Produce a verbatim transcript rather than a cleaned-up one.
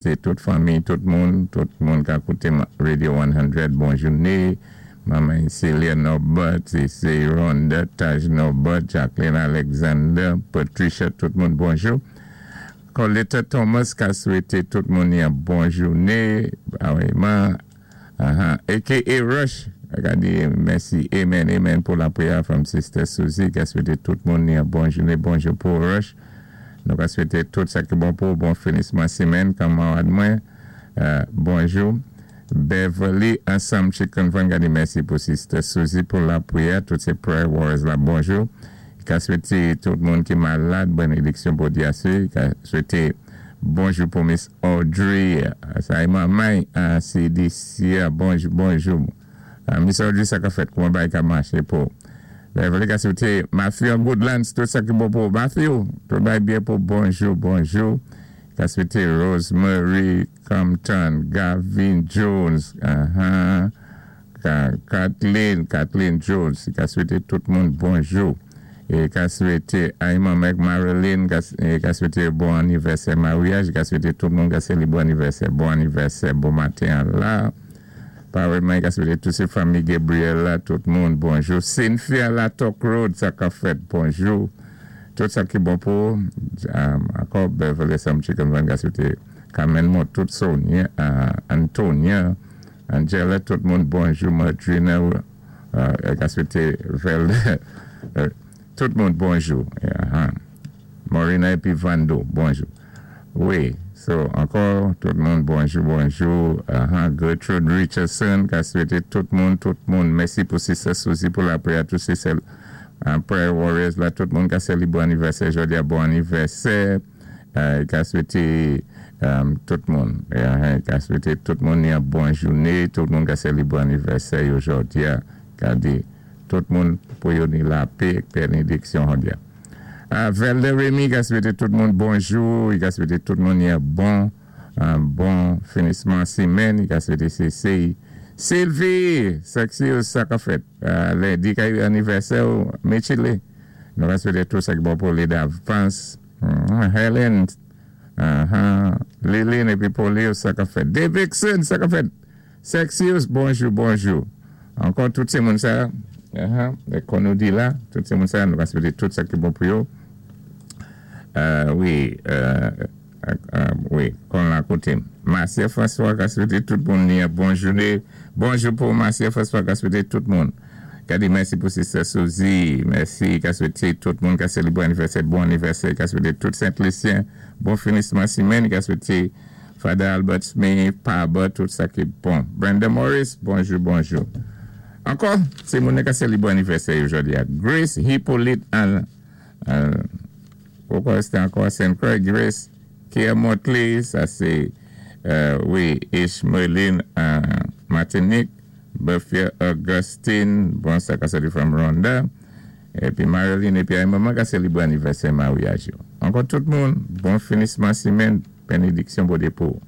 Sé tout fanmi, tout moun, tout moun ka kouté Radio san, bon jouné. Manman Celia Norbert, sé Rhonda, Taj Norbert, Jacqueline Alexander, Patricia, tout moun, bonjou. Coletta Thomas ka swété tout moun yon bon jouné. Ah wi, man, uh-huh. A K A Rush, ka di mèsi, amen, amen pou lapriyè from Sister Susie, ka swété tout moun yon bon jouné, bonjou pou Rush. Nou ka swété tout sa ki bon pou bon finisman simèn, kanmarad mwen. Euh, bonjou. Beverly Ansam Chicken Van ka di mèsi pou Sister Susie pou lapriyè, tout sé prayer warriors la, bonjou. Ka swété tout moun ki malad, bénédiksyon pou Dyasé. Ka swété bonjou pou Miss Audrey, sa é manman C D C, bonjou, bonjou. Miss Audrey, sa ka fèt, kouman bagay ka maché pou. Beverly ka swété Matthew Goodlands, tout sa ki bon pou Matthew, tout bagay byen pou, bonjou, bonjou. Ka swété Rosemary Compton, Gavin Jones, uh-huh, Kathleen, Kathleen Jones, ka swété tout moun bonjou. É ka swété Ayman Mek Marilyn, ka swété bon anivèsè maryaj, ka swété tout moun ka sélibré bon anivèsè, bon anivèsè, bon maten la. Pareman, ka swété tout sé fanmi Gabriel la, tout moun, bonjou. Cynthia la Talk Road, sa ka fèt, bonjou. Tout sa ki bon pou, ankò Beverly Sam Chicken Van ka swété Carmen Mott, tout Sonia, Antonia, Angela, tout moun, bonjou, Madrina, ka swété Velde, tout moun, bonjou. Morina épi Vando, bonjou. Wi, so, ankò, tout moun, bonjou, bonjou. Gertrude Richardson, ka swété tout moun, tout moun. Mèsi pou Sister Susie pou lapriyè, tout sé prayer warriors la, tout moun ka sélibré anivèsè, jodi a bon anivèsè. Ka swété tout moun. Ka swété tout moun yon bon jouné, tout moun ka sélibré anivèsè jodi a. Ka di, tout moun pou yo ni lapè, bénédiksyon jodi a. Velde Remy ka swété tout moun bonjou, ka swété tout moun yon bon, bon finisman simèn, ka swété C C. Sylvie, sexy ou sa ka fèt, lendi ka yon anivèsè ou Michele, nou ka swété tout sa ki bon pou li davans. Helen, Lilin epi Poli ou sa ka fèt. Davidson, sa ka fèt. Sexy ou, bonjou, bonjou. Ankò tout sé moun sa, kon nou di la, tout sé moun sa, nou ka swété tout sa ki bon pou yo. Wi, wi, kon la koté. Marcia François ka swété tout moun ni bon jouné. Bonjou pou Marcia François ka swété tout moun. Ka di mèsi pou Sister Suzy. Mèsi ka swété tout moun ka sélibré anivèsè, bon anivèsè. Ka swété tout Saint-Lucien. Bon finisman simèn. Ka swété Father Albert Smith, Paba, tout sa ki bon. Brenda Morris, bonjou, bonjou. Ankò, sé moun ka sélibré anivèsè jodi a. Grace Hippolyte an, poukwa sé ankò Saint Croix, Grace Kia Motley, sa sé, wi, Ishmaeline Martinique, Buffia Augustine, bon sa ka sali from Rhonda, épi Marilyn, épi ay manman ka sélibré anivèsè maryaj. Ankò tout moun, bon finisman simèn, bénédiksyon Bondye pou.